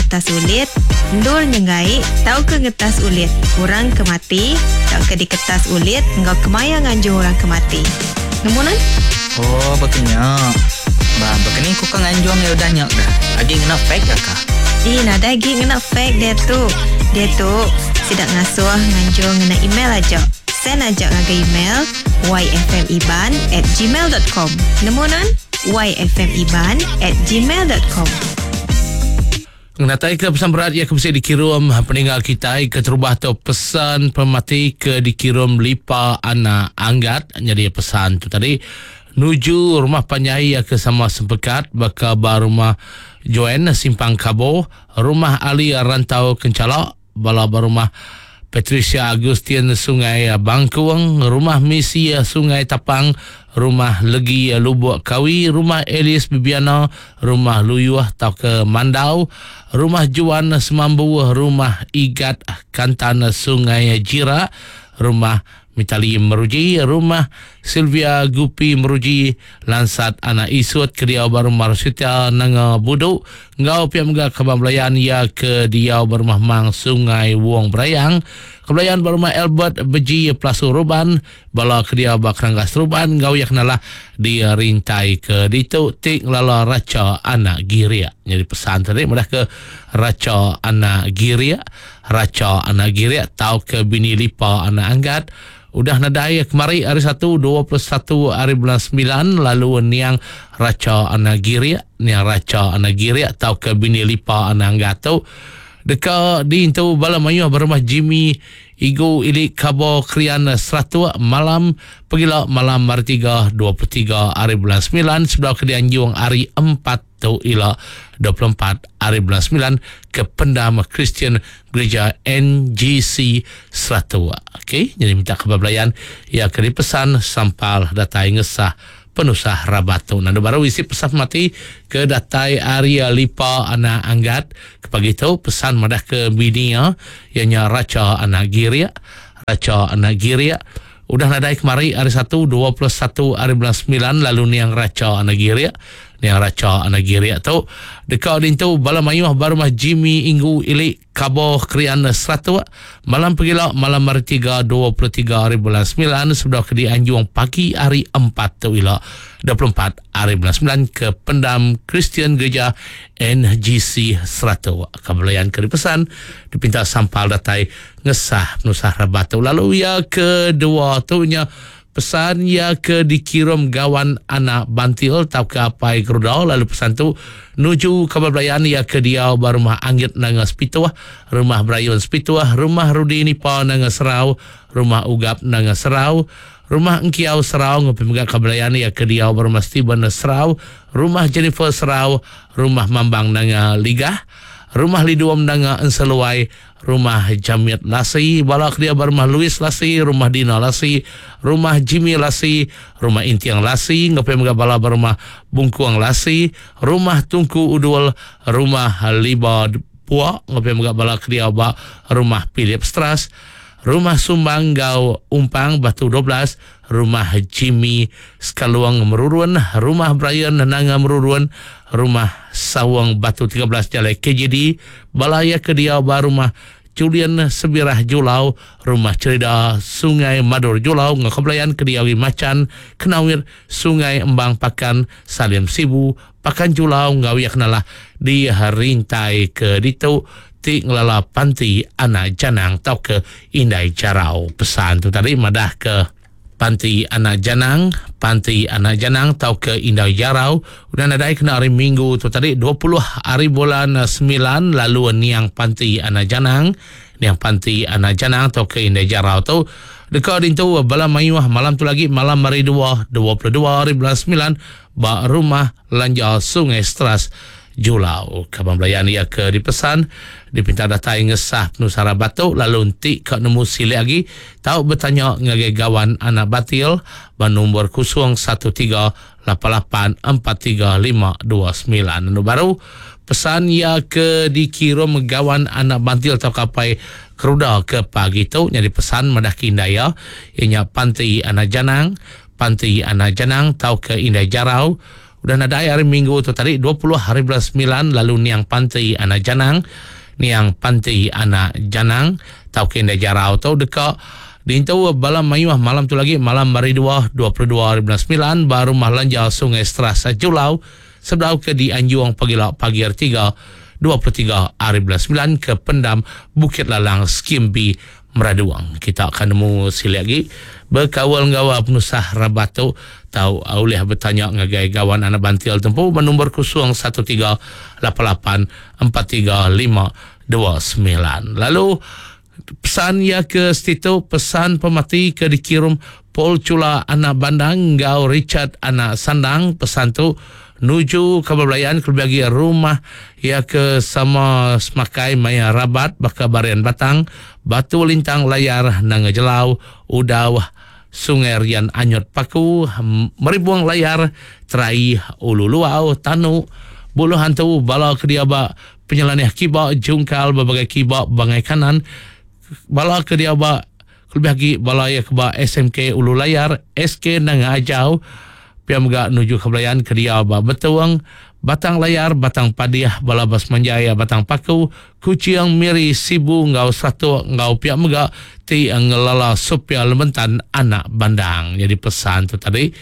ngetas ulit, endur nyenggai tauka ngetas ulit orang ke mati tauka diketas ulit enggau kemaya nganjung orang ke mati. Nemu nuan? Oh baka nya. Ba baka ni ku ka nganjung iya udah nya kah? Agi ngena fax ga kah? Ih nadai agi ngena fax diatu. Diatu sida ngasuh nganjung ngena email aja. Send aja ngagai email yfmiban at gmail dot com. Nemu nuan? yfmiban at gmail dot com. Ngenataika pesan berat iya ke bisi dikirum peninga kitai keterubah tu pesan pemati ke dikirum Lipa Anak Anggat nyadi pesan tu tadi nuju rumah panjai iya ke sama sempekat baka ba rumah Joanne Simpang Kabo, rumah Ali Rantau Kenchala, Bala ba rumah Patricia Agustin Sungai Bangkung, Rumah Misi Sungai Tapang, Rumah Legi Lubuk Kawi, Rumah Alice Bibiana, Rumah Luyuh tauka Mandau, Rumah Juan Semambu, Rumah Igat Kantan Sungai Jira, Rumah Mitali Meruji, Rumah Sylvia Gupi Meruji, Lansat Anak Isut ke diau ba Rumah Rosita Nanga Budu enggau pia mega kaban belayan iya ke diau ba Rumah Mang Sungai Wong Berayang, ke belayan ba Rumah Albert Beji Pelasu Ruban, bala ke diau ba Keranggas Ruban enggau iya ke nalah di Rintai ke ditu ti ngelala Racha Anak Girik. Nyadi pesan tadi madah ke Racha Anak Girik. Racha anak Girik tauka bini Lipa anak Anggat udah nadai kemari hari Satu 21 hari bulan semilan lalu niang Racha anak Girik niang Racha anak Girik tauka bini Lipa anak Anggat tu deka diintu bala mayuh ba rumah Jimmy Igu Ili Kabo Krian Seratuk malam pegila malam hari Tiga 23 hari bulan semilan sebedau ke dianjung hari Empat Tu ila 24 ari bulan semilan ke Pendam Kristian Gereja NGC Seratok. Okey, jadi minta kabar belayan iya ke dipesan sampal datai ngesah penusah rabat tu. Nandu baru isi pesan pemati ke datai ari Lipa anak Anggat ke pagi tu pesan madah ke bini iya iya nya Racha anak Girik. Racha anak Girik udah nadai kemari hari Satu 21 ari bulan semilan lalu niang Racha anak Girik Niang Racha anak Girik tu deka dintu bala mayuh ba rumah Jimmy Inggu Ili Kabo Krian Seratuk malam pegila malam hari Tiga 23 hari bulan semilan sebedau ke dianjung pagi hari Empat tu ila 24 hari bulan semilan ke Pendam Kristian Gereja NGC Seratuk. Ka belayan ke dipesan dipinta sampal datai ngesah penusah rabat tu. Lalu iya kedua tu nya Pesan iya ke dikirum gawan anak Bantil tauka apai Geruda lalu pesan tu nuju kaban belayan iya ke diau ba Rumah Anggit Nanga Sepituh, Rumah Berayun Sepituh, Rumah Rudi Nipa Nanga Serau, Rumah Ugap Nanga Serau, Rumah Engkiau Serau enggau pemega kaban belayan iya ke diau ba Rumah Steven Serau, Rumah Jennifer Serau, Rumah Mambang Nanga Ligah, Rumah Lidum Nanga Enseluai, Rumah Jamit Lasi, bala ke dia ba Rumah Louis Lasi, Rumah Dina Lasi, Rumah Jimmy Lasi, Rumah Inting Lasi, enggau pia mega bala ba Rumah Bungkung Lasi, Rumah Tungku Udul, Rumah Liba Pua, enggau pia mega bala ke dia ba Rumah Philip Stras, Rumah Sumbang enggau Umpang Batu 12, Rumah Jimmy Skalung Merurun, Rumah Brian Nanga Merurun, Rumah Saung Batu 13 Jalai KJD, bala iya ke diau ba Rumah Julian Sebirah Julau, Rumah Cherida Sungai Madur Julau enggau Kebelayan ke diau di Machan, Kenawir, Sungai Embang Pakan, Salim Sibu, Pakan Julau enggau iya ke nalah di Rintai ke ditu ti ngelala panti anak Janang tauka Indai Jarau. Pesan tu tadi madahka panti anak Janang, panti anak Janang tauka Indai Jarau udah nadai kena hari Minggu tu tadi 20 hari bulan semilan lalu niang panti anak Janang, niang panti anak Janang tauka Indai Jarau tu deka dintu bala mayuh malam tu lagi malam hari dua, 22 hari bulan semilan ba Rumah Lanja Sungai Stras, Julau. Kaban belayan iya ke dipesan dipinta datai ngesah penusah rabat tu lalu enti ka nemu silik agi tau betanya ngagai Gawan Anak Batil ba nombor 013 88 43 529. Anu baru pesan iya ke dikirum Gawan Anak Bantil tauka apai Keruda ke pagi tu nyadi pesan madah ke indai iya, iya nya Panti Anak Janang, Panti Anak Janang tauka Indai Jarau. Udah nadai hari minggu tu tadi 20 hari bulan 9 lalu niang Panti anak Janang niang Panti anak Janang tauka indai jarau tu deka diintu bala mayuh malam tu lagi malam hari 2 22 hari bulan 9 ba rumah Lanja Sungai Stras Julau sebedau ke dianjung pagila pagi hari 3 23 hari bulan 9 ke pendam Bukit Lalang Skim B Meraduang. Kita akan nemu silik lagi bekaul enggau penusah rabat tu tau ulih betanya ngagai gawan anak bantil tempu ba nombor 0138843529. Lalu pesan ia ke setitu pesan pemati ke dikirim Paul Chula anak Bandang enggau Richard anak Sandang. Pesan tu nuju kabar belayan kelebih lagi rumah ia ke sama semakai maya rabat baka Barian Batang, Batu Lintang Layar Nanga Jelau, Udau, Sungai Rian Anyut Paku, Meribung Layar, Terai, Ulu Luau, Tanu, Buluh Hantu, bala ke dia ba Penyelanih Kiba, Jungkal, berbagai kiba, bangai kanan, bala ke dia ba kelebih lagi bala ia ke ba SMK Ulu Layar, SK Nanga Ajau, pia mega nuju ke belayan ke dia ba Betung, Batang Layar, Batang Padih, bala ba Semanjai, Batang Paku, Kuching, Miri, Sibu enggau Satok enggau pia mega ti ngelala Sophia Lementan anak Bandang. Jadi pesan tu tadi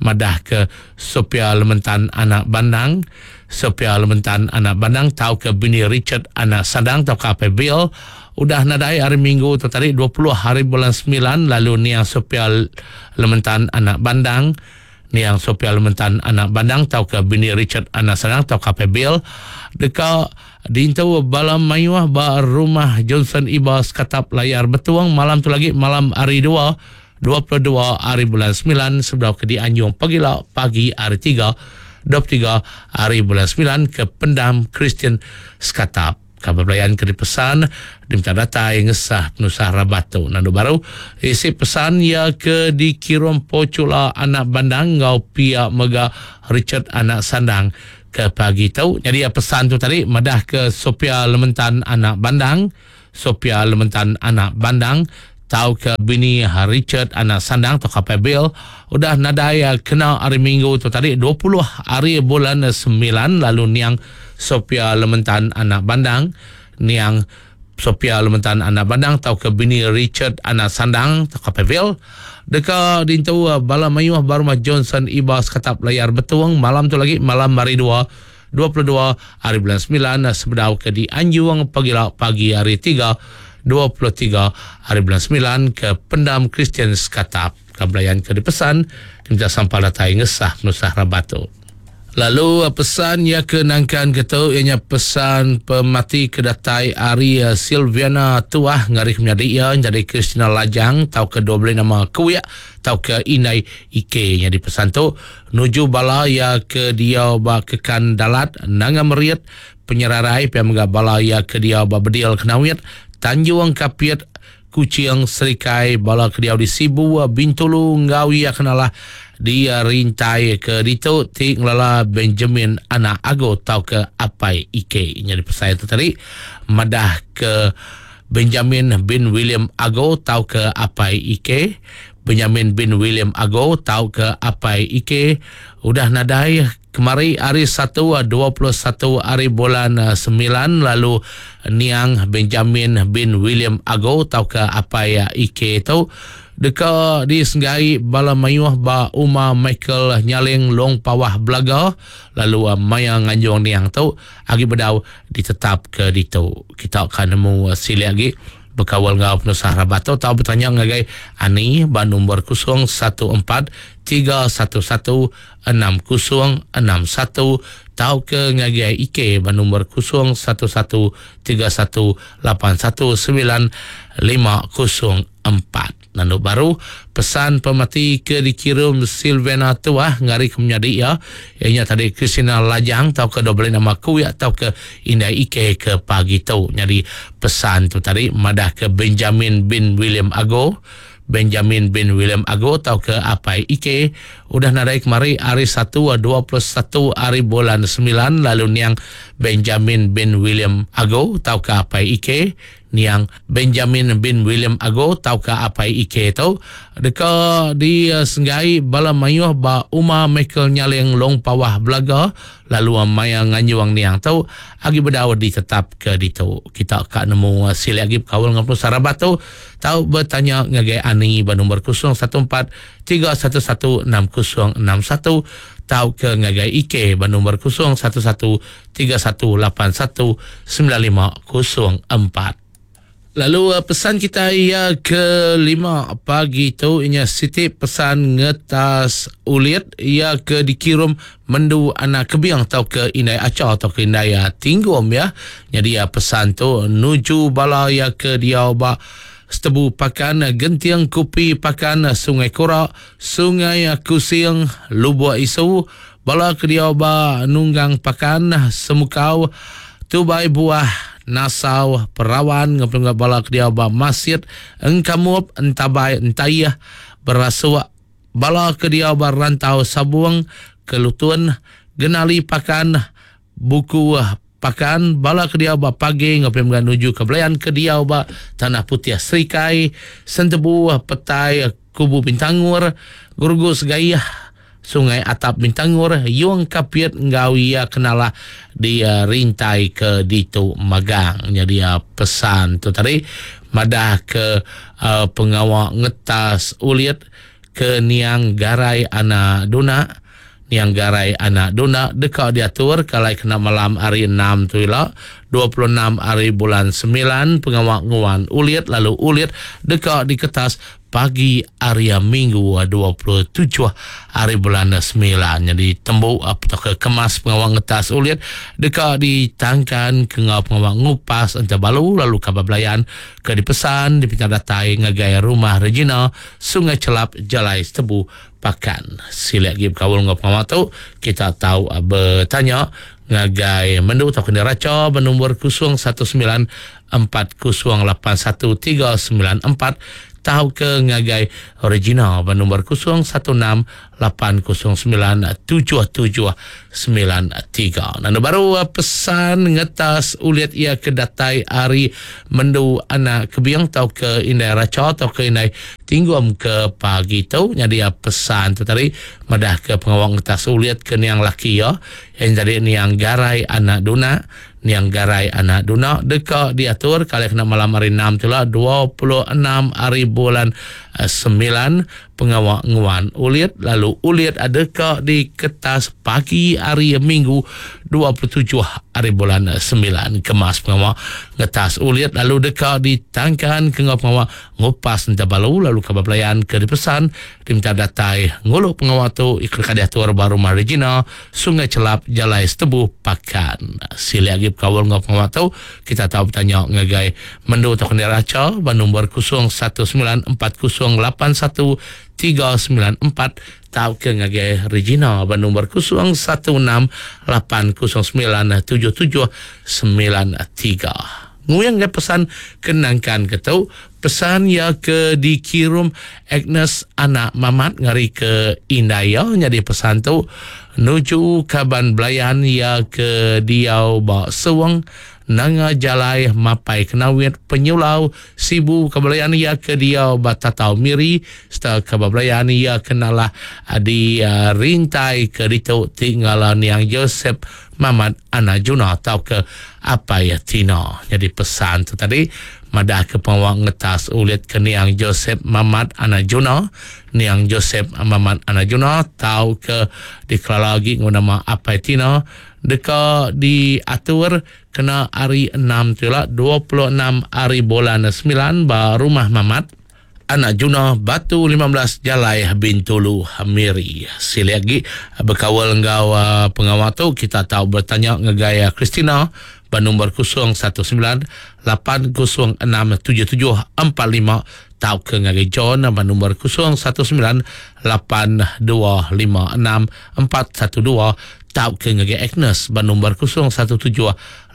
madah ke Sophia Lementan anak Bandang, Sophia Lementan anak Bandang tauka bini Richard anak Sandang tauka Apai Bill udah nadai hari Minggu tu tadi 20 hari bulan 9 lalu niang Sophia Lementan anak Bandang, niang Sophia Lementan anak Bandang tauka bini Richard anak Sandang tauka Apai Bill deka diintu bala mayuh ba rumah Johnson Iba Sekatap Layar Betung malam tu lagi malam hari 2 22 hari bulan 9 sebedau ke dianjung pagila pagi hari 3 23 hari bulan 9 ke pendam Kristian Sekatap. Kabar belayan ke dipesan diminta datai ngesah penusah rabat tu. Nandu baru isi pesan ia ke dikirim Pocula anak Bandang ngau pia mega Richard anak Sandang ke pagi tu. Jadi pesan tu tadi madah ke Sophia Lementan anak Bandang, Sophia Lementan anak Bandang tau ke bini Richard anak Sandang atau Kapai Bill udah nadai kena hari Minggu tu tadi 20 hari bulan 9 lalu niang Sophia Lementan anak Bandang, niang Sophia Lementan anak Bandang tau ke bini Richard anak Sandang atau Kapai Bill deka dintu bala mayuh barumah Johnson Iba Sekatap Layar Betung malam tu lagi malam hari 2 22 hari bulan 9 sebedau ke dianjung pagila pagi hari 3 23 hari bulan 9 ke pendam Kristian Sekatap. Kabelayan ke dipesan minta sampal datai ngesah penusah rabat tu. Lalu pesan ia ke nangkan ke tu ianya pesan pemati ke datai ari Silviana Tuah ngari menyadi ia jadi Kristina Lajang tau ke dua belas nama Kuik tau ke Indai Ike. Jadi pesan tu nuju bala ia ke dia ba kekan dalat Nanga Merit penyerarai pia mega bala ia ke dia ba Bedil Kenawit Tanjung Kapit Kuching Serikai bala ke dia di Sibu Bintulu ngau ia kenalah di rintai ke ditu ti ngelala Benjamin anak Ago tau ke Apai Ike. Jadi pesan tu tadi madah ke Benjamin bin William Ago tau ke Apai Ike, Benjamin bin William Ago tau ke Apai Ike udah nadai kemari hari 1 21 hari bulan 9 lalu niang Benjamin bin William Ago tau ke Apai Ike tu deka disenggai bala mayuh ba Uma Michael Nyaling Long Pawah Belaga lalu maya nganjung niang tu agi bedau ditetap ke ditu. Kita akan nemu silik lagi berkawal ngau penusah rabat tu tau bertanya ngagai Ani ba nombor 014 311 6061 tau ke ngagai Ike ba nombor 011 3181 9504. Nandu baru pesan pemati ke dikirim Silvana Tuah ngari ke menyadi ia ianya tadi Kristina Lajang tau ke dua belas nama Kuik tau ke Indai Ike ke pagi tu. Jadi pesan tu tadi madah ke Benjamin bin William Ago, Benjamin bin William Ago tau ke Apai Ike udah nadai kemari hari 1 21 hari bulan 9 lalu niang Benjamin bin William Ago tauka Apai Ike niang Benjamin bin William Ago tauka Apai Ike tu deka disenggai bala mayuh ba Uma Michael Nyaling Long Pawah Belaga lalu maya nganjung niang tu agi bedau ditetapka ditu. Kita ka nemu silik agi bekaul enggau penusah rabat tu tau betanya ngagai Ani ba nombor 014 311 6061 tauka ngagai Ike ba nombor 011 3181 9504. Lalu pesan kita iya ke lima pagi tu inya siti pesan ngetas ulit iya ke dikirum mendu anak kebing tauka indai acha tauka indai tinggum ya. Jadi pesan tu nuju bala iya ke diau ba Setebu Pakan, Genting Kupi Pakan, Sungai Kura, Sungai Kusing, Lubuk Isu, bala ke diau ba Nunggang Pakan, Semukau, Tubai Buah, Nasau, Perawan enggau penungga bala ke diau ba Masit, Engkamup, Entabai, Entaih, Berasuk, bala ke diau ba Rantau Sabung, Kelutun, Genali Pakan, Buku Pakan, bala ke diau ba Page enggau pia mega nuju ke Belayan ke diau ba Tanah Putih Serikai, Sentebu, Petai, Kubu Bintangor, Gerugu Segaih, Sungai Atap Bintangor, Yung Kapit enggau iya kenalah di rintai ke ditu magang. Nyadi pesan tu tadi madah ke pengawa ngetas ulit ke niang Garai Anak Duna Niang Garai anak Duna deka diatur ke alai kena malam hari Enam tu ila, 26 hari bulan Semilan, pengawa nguan ulit lalu ulit deka diketas pagi hari Minggu 27 hari bulan Semilan. Nyadi tembu tauka kemas pengawa ngetas ulit deka ditangkan ke enggau pengawa ngupas enta balu lalu kaban belayan ke dipesan dipinta datai ngagai Rumah Regina, Sungai Chelap, Jalai Setebu, Pakan. Silik agi bekaul enggau pengawa tu, kita tau betanya ngagai Mendu tauka Neraca ba nombor 019 4081 394 tauka ngagai Regina ba nombor 016 809 7793. Nanda baru pesan ngetas ulit iya ke datai ari Mendu anak Kebing tauka Indai Racha tauka Indai Tinggum ke pagi tu nyadi pesan tu tadi madah ke pengawa ngetas ulit ke niang laki iya iya nyadi niang Garai anak Duna niang Garai anak Duna deka diatur kali kena malam hari enam tu ila 26 hari bulan semilan pengawa nguan ulit lalu ulit deka diketas pagi hari Minggu 27 hari bulan semilan kemas pengawa ngetas ulit lalu deka ditangkan ke enggau pengawa ngupas enta balu lalu kaban belayan ke dipesan diminta datai ngulu pengawa tu deka diatur ba Rumah Regina Sungai Chelap Jalai Setebu Pakan. Silik agi bekaul enggau pengawa tu kita tau betanya ngagai Mendu tauka Neraca ba nombor 0194081394 tauka ngagai Regina ba nombor 0168097793. Nguyang ngagai pesan ke nangkan ke tu, pesan iya ke dikirum Agnes anak Mamat ngari ke indai iya nyadi pesan tu nuju kaban belayan iya ke diau ba Seweng Nanga Jalai Mapai Kenawit Penyulau Sibu kaban belayan iya ke diau ba Tatau Miri sereta kaban belayan iya ke nalah di rintai ke ditu ti ngala niang Joseph Mamat anak Juna tauka Apai Tina. Nyadi pesan tu tadi madah ke pengawa ngetas ulit ke niang Joseph Mamat anak Juna, niang Joseph Mamat anak Juna tauka dikelala agi enggau nama Apai Tina deka diatur kena hari Enam tu ila 26 hari bulan semilan ba Rumah Mamat Anak Juna Batu 15 Jalai Bintulu Miri. Silik agi bekaul enggau pengawa tu kita tau betanya ngagai Christina ba nombor 019 806 7745. tauka ngagai John ba nombor 019 8256 412 tauka ngagai Agnes ba nombor 017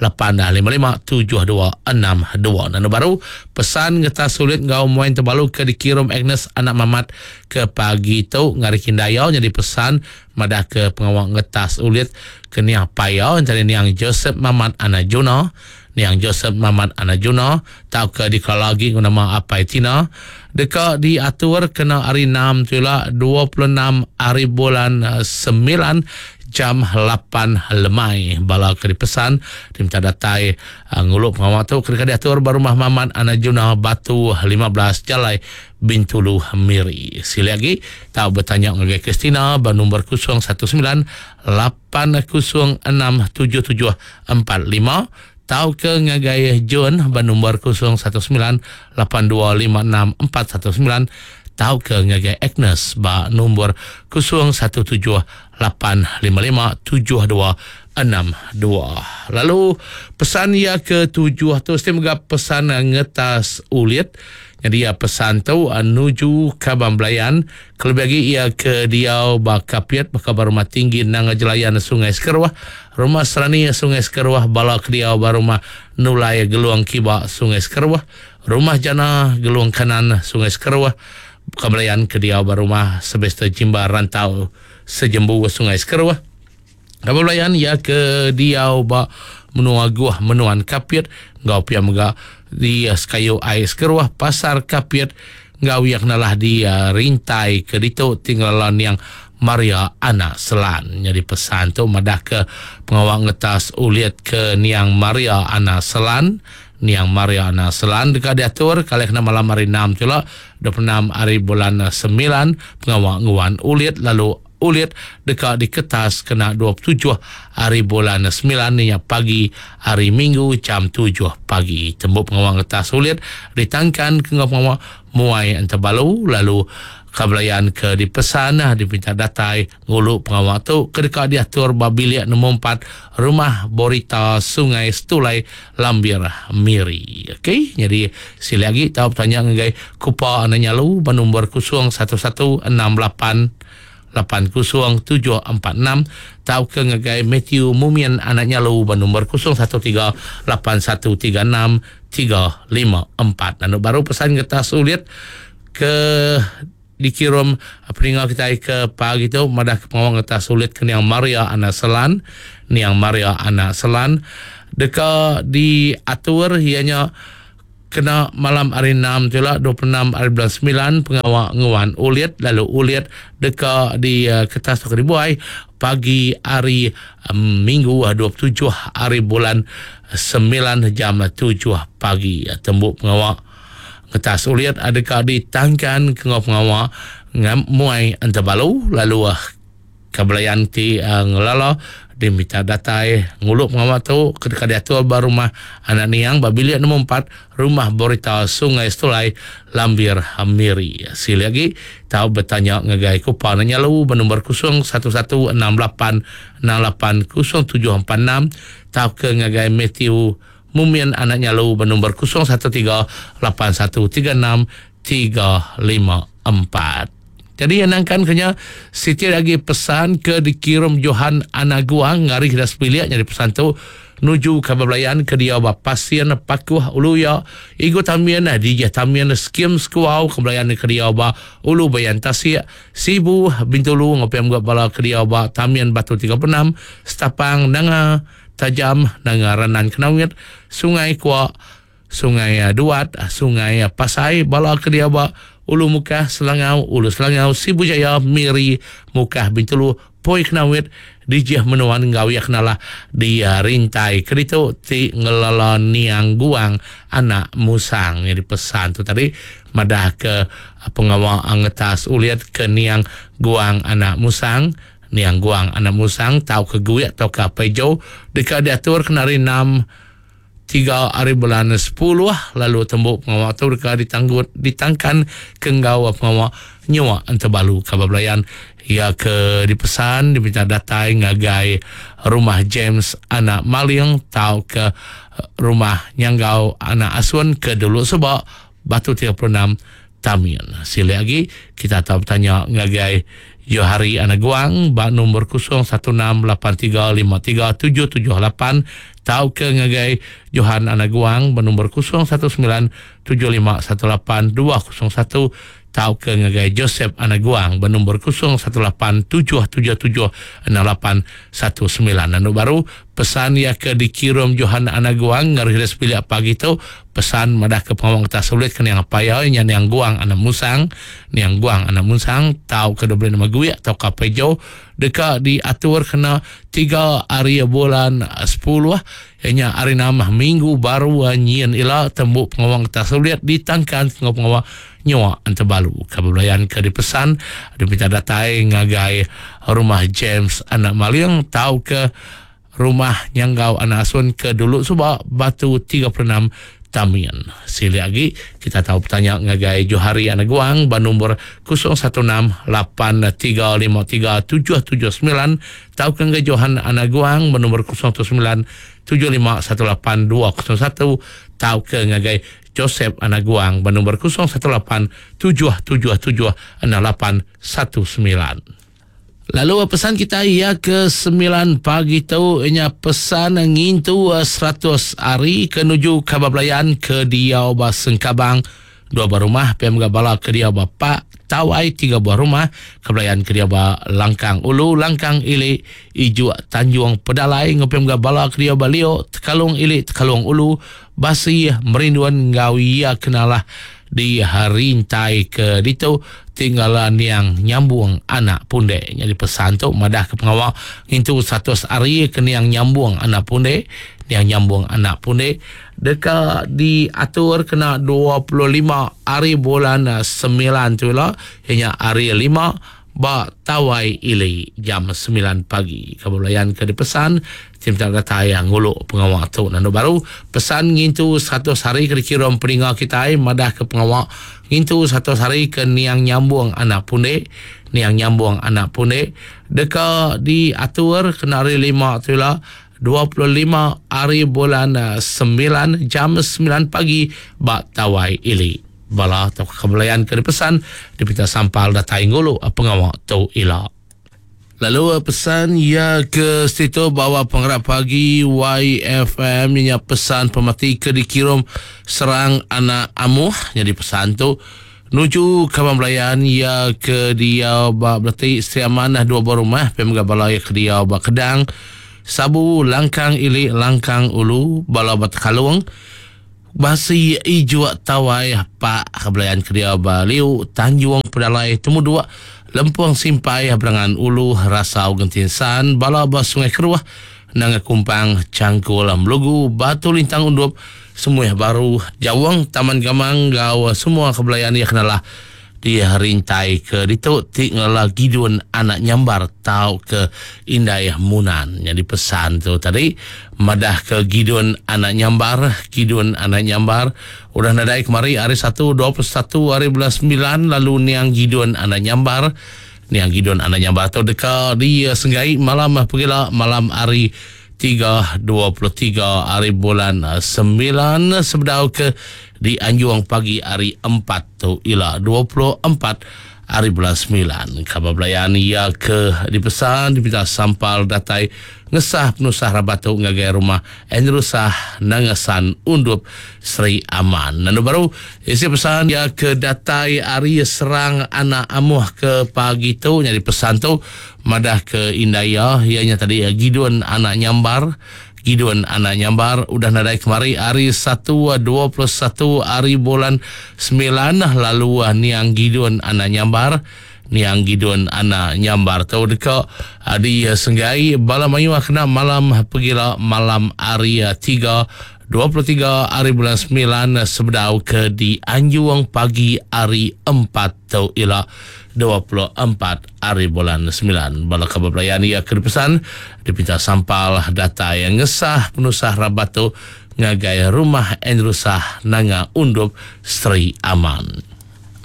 855 7262. Nanu baru pesan ngetas sulit enggau muai tebalu ke dikirum Agnes anak Mamat ke pagi tu ngari Kindaya nyadi pesan madah ke pengawa ngetas ulit ke niang apai iya entara niang Joseph Mamat anak Juna niang Joseph Mamat anak Juna tauka dikelala agi enggau nama Apai Tina deka diatur kena hari Enam tu ila 26 hari bulan semilan jam lapan lemai. Bala ke dipesan diminta datai ngulu pengawa tu ke deka diatur ba Rumah Mamat anak Juna Batu 15 Jalai Bintulu Miri. Silik agi tau betanya ngagai Christina ba nombor 019 806 7745 tauka ngagai John ba nombor 019 8256 419 tauka ngagai Agnes ba nombor 017 855 7262. Lalu pesan iya ke tujuh tu mesti mega pesan ngetas ulit. Nyadi iya pesan tu nuju kaban belayan kelebih agi iya ke diau ba Kapit baka ba Rumah Tinggi Nanga Jelayan Sungai Sekeruh, Rumah Serani Sungai Sekeruh, bala ke diau ba Rumah Nulai Gelung Kiba Sungai Sekeruh, Rumah Jana Gelung Kanan Sungai Sekeruh, kaban belayan ke diau ba Rumah Sebester Jimba Rantau Sejembu Sungai Sekeruh. Kaban belayan iya ke diau ba menua Guh Menuan Kapit enggau pia mega di Sekayu Ai Sekeruh Pasar Kapit enggau iya kenalah di Rintai ke ditu ti ngelala niang Maria Anak Selan. Nyadi pesan tu madahka pengawa ngetas ulit ke niang Maria Anak Selan. Niang Maria Anak Selan deka diatur kali kena malam hari Enam tu ila 26 hari bulan semilan pengawa nguan ulit lalu ulit deka diketas kena 27 hari bulan semilan nya pagi hari Minggu jam tujuh pagi. Tembu pengawa ngetas ulit ditangkan ke enggau pengawa muai entebalu lalu kabelayan ke dipesan dipinta datai ngulu pengawa tu ke deka diatur ba bilik nombor empat Rumah Borita Sungai Setulai Lambir Miri. Okey, nyadi silik agi tau betanya ngagai Kupa Anak Nyalu ba nombor 011 68 80746 tauka ngagai Matthew Mumin Anak Nyalu ba nombor 013 8136 354. Anu baru pesan ngetas ulit ke dikirum peninga kitai ke pagi tu madah ke pengawa ngetas ulit ke niang Maria Anak Selan niang Maria Anak Selan deka diatur iya nya kena malam hari enam tu ila 26 hari bulan semilan pengawa nguan ulit lalu ulit deka diketas tauka dibuai pagi hari minggu 27 hari bulan semilan jam tujuh pagi tembu pengawa Ngetas ulit deka ditangkan ke enggau pengawa muai entebalu lalu kebelayan ti ngelala diminta datai ngulu pengawa tu ke deka diatur ba Rumah Anak Niang ba Bilik Nombor empat, Rumah Borita Sungai Setulai, Lambir, Miri. Silik agi tau betanya ngagai Kupa Anak Nyalu ba nombor 011 68 68 0746 tauka ngagai Mathew Mumin Anak Nyalu ba nombor 013 8136 354. Jadi yang nangkan ke nya siti agi pesan ke dikirum Johan Anak Guang ngari sida sebilik nyadi pesan tu nuju kaban belayan ke diau ba Passin Pakuh Ulu Iya Igu Tamin Dijih Tamin Skim Sekuau ke belayan ke diau ba Ulu Bayan Tasik Sibu Bintulu enggau pia mega bala ke diau ba Tamin Batu 36 Setapang Nanga Tajam nanga Renan Kenawit, Sungai Kuak, Sungai Duat, Sungai Pasai, bala ke diau ba Ulu Mukah, Selangau, Ulu Selangau, Sibu Jaya, Miri, Mukah, Bintulu, Poi Kenawit, Dijih Menuan enggau iya kenalah di Rintai ke ditu ti ngelala niang Guang anak Musang. Nyadi pesan tu tadi madah ke pengawa ngetas ulit ke niang Guang anak Musang Niang Guang anak Musang tauka Guik tauka Apai Jo deka diatur kena hari enam tiga ari bulan sepuluh lalu tembu pengawa tu deka ditanggut ditangkan ke enggau pengawa nyuak entebalu kaban belayan iya ke dipesan diminta datai ngagai Rumah James anak Maling tauka Rumah Nyanggau anak Asun ke dulu suba Batu 36. Tamin. Silik agi kita tau betanya ngagai Johari Anak Guang ba nombor 0168353778 tauka ngagai Johan Anak Guang ba nombor 0197518201 tauka ngagai Joseph Anak Guang ba nombor 0187776819. Anu baru pesan iya ke dikirum Johan Anak Guang ngagai sida sebilik pagi tu pesan madah ke pengawa ngetas sulit ke niang apai iya nya niang Guang Anak Musang niang Guang Anak Musang tauka diberi nama Guik tauka Apai Jo deka diatur kena tiga hari bulan sepuluh iya nya hari enam minggu baru nyin ila tembu pengawa ngetas sulit ditangkan enggau pengawa nyua entebalu. Ka bebelayan ke dipesan dipinta datai ngagai rumah James Anak Maling tauka rumah Nyanggau Anak Asun ke dulu suba Batu 36 Tamin. Silik agi kita tau betanya ngagai Johari Anak Guang ba nombor 0168353779 tauka ngagai Johan Anak Guang ba nombor 019 7518201 tauka ngagai Joseph Anak Guang ba nombor 0187776819. Lalu pesan kita ia ke 9 pagi tu ianya pesan ngintu 100 hari ke nuju kabar belayan ke diau ba Sengkabang dua buah rumah pia mega bala ke diau ba Pak Tawai tiga buah rumah ke belayan ke diau ba Langkang Ulu Langkang Ili Ijuk Tanjung Pedalai enggau pia mega bala ke diau ba Lio Tekalong Ili Tekalong Ulu Basi Merinduan enggau iya kenalah di rintai ke ditu tinggal niang nyambung anak pundek. Nyadi pesan tu madah ke pengawa ngintu 100 hari ke niang nyambung anak pundek. Niang nyambung anak pundek deka diatur kena 25 hari bulan 9 tu ila, iya nya hari 5 ba Tawai Ili jam 9 pagi. Kaban belayan ke dipesan ti minta datai ngulu pengawa tu. Nandu baru pesan ngintu 100 hari ke dikirum peninga kitai madah ke pengawa ngintu 100 hari ke niang nyambung anak pundek. Niang nyambung anak pundek deka diatur kena hari 5 tu ila 25 hari bulan 9 jam 9 pagi ba Tawai Ili. Bala tauka kebelayan ke dipesan dipinta sampal datai ngulu pengawa tu ila. Lalu pesan iya ke situ bawa pengerak pagi YFM nya pesan pemati ke dikirum serang anak amuh. Jadi pesan tu nuju kaban belayan iya ke diau ba Beleti Sri Aman dua buah rumah pia mega bala iya ke diau ba Kedang Sabu Langkang Ili Langkang Ulu bala ba Tekalong Basi Ijuk Tawai Pak Kebelayan Kedia ba Liu Tanjung Pedalai Temuduk Lempung Simpai Berangan Ulu Rasau Genting San bala ba Sungai Keruh Nanga Kumpang Changkul Melugu Batu Lintang Undup Semuih Baru Jawong Taman Gamang enggau semua kebelayan iya kenalah di rintai ke ditu ti ngelala Gidun anak Nyambar tau ke Indai Munan. Nyadi pesan tu tadi madah ke Gidun anak Nyambar, Gidun anak Nyambar udah nadai kemari hari 1 21 hari bulan 9 lalu niang Gidun anak Nyambar. Niang Gidun anak Nyambar tu deka disenggai malam pegila malam hari 3 23 hari bulan 9 sebedau ke dianjung pagi hari 4 tu ila 24 hari bulan 9. Kabar belayan ia ke dipesan dipinta sampal datai ngesah penusah rabat tu ngagai rumah Andrew Sah Nangasan Undup Sri Aman. Lalu baru isi pesan ia ke datai hari serang anak amuh ke pagi tu nyadi pesan tu madah ke indai iya nya tadi Gidun anak Nyambar. Gidun anak Nyambar udah nadai kemari hari 1 21 hari bulan 9 lalu niang Gidun anak Nyambar. Niang Gidun anak Nyambar tu deka disenggai bala mayuh kena malam pegila malam hari 3 23 hari bulan 9 sebedau ke dianjung pagi hari 4 tu ila 24 hari bulan 9. Bala kabar belayan ia ke dipesan dipinta sampal data yang ngesah penusah rabat tu ngagai rumah Andrew Sah Nanga Undup Sri Aman.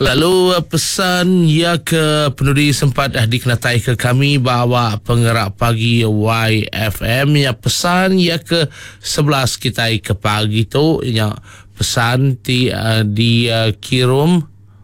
Lalu pesan ia ke penudi sempat dikenatai ke kami bahawa pengerak pagi YFM ya pesan ia ke 11 kita ke pagi tu ya pesan ti dikirim.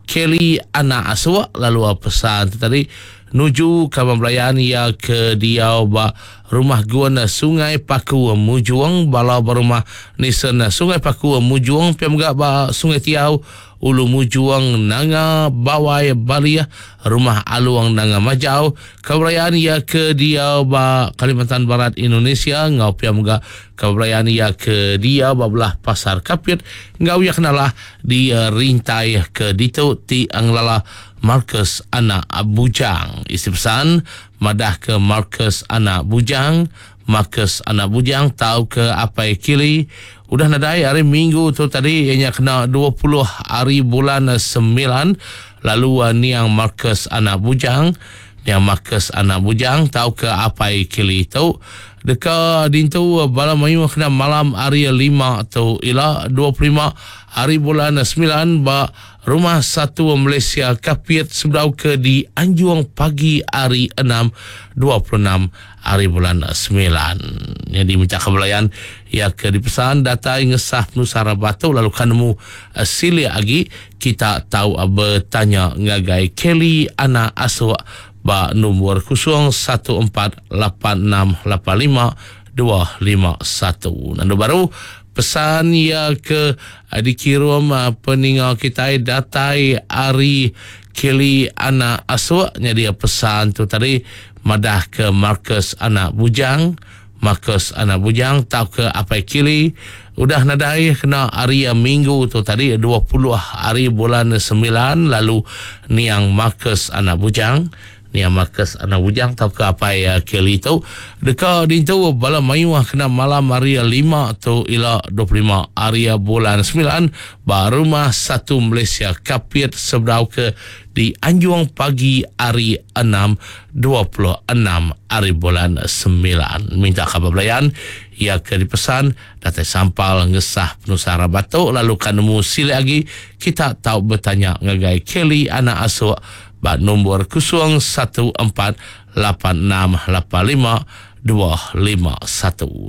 Kelly Anak Asuk lalu pesan tu tadi nuju kaban belayan iya ke diau ba Rumah Gun Sungai Paku Mujong bala ba Rumah Nison Sungai Paku Mujong pia mega ba Sungai Tiau Ulu Mujong Nanga Bawai Balih Rumah Alung Nanga Majau kaban belayan iya ke diau ba Kalimantan Barat Indonesia enggau pia mega Kaban belayan iya ke diau ba belah Pasar Kapit enggau iya kenalah di rintai ke ditu ti ngelala Marcus anak Bujang. Isi pesan madahka Marcus anak Bujang, Marcus anak Bujang tauka Apai Kili udah nadai hari Minggu tu tadi iya nya kena 20 hari bulan semilan lalu niang Marcus anak Bujang Niang Marcus anak Bujang tauka Apai Kili tu deka dintu bala mayuh kena malam hari Lima tu ila 25 hari bulan semilan ba Rumah Satu Malaysia Kapit sebedau ke dianjung pagi hari Enam 26 hari bulan semilan. Nyadi minta ke belayan iya ke dipesan datai ngesah penusah rabat tu lalu ka nemu silik agi Kita tau betanya ngagai Kelly Anak Asuk ba nombor 0148685251. Nandu baru pesan iya ke dikirum peninga kitai datai ari Kelly Anak Asuk nyadi pesan tu tadi madah ke Marcus Anak Bujang Marcus anak Bujang tauka Apai Kili udah nadai kena hari Minggu tu tadi 20 hari bulan semilan lalu niang Marcus anak Bujang niang Marcus anak Bujang tauka Apai Kili tu deka dintu bala mayuh kena malam hari Lima tu ila 25 hari bulan semilan ba Rumah Satu Malaysia Kapit sebedau ke di anjung pagi hari Enam 26 ari bulan semilan. Minta kaban belayan iya ke dipesan datai sampal ngesah penusah rabat tu lalu ka nemu silik agi kita tau betanya ngagai Kelly anak Asuk ba nombor 0148685251.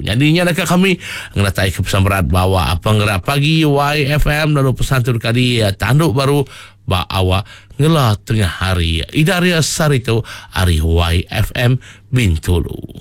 Nyadi nya deka kami ngenatai ke pesan berat bawa Penggerak Pagi YFM lalu pesan tu deka ditandu baru Ba awak ngela tengah hari. Ida ria sehari tu ari YFM Bintulu.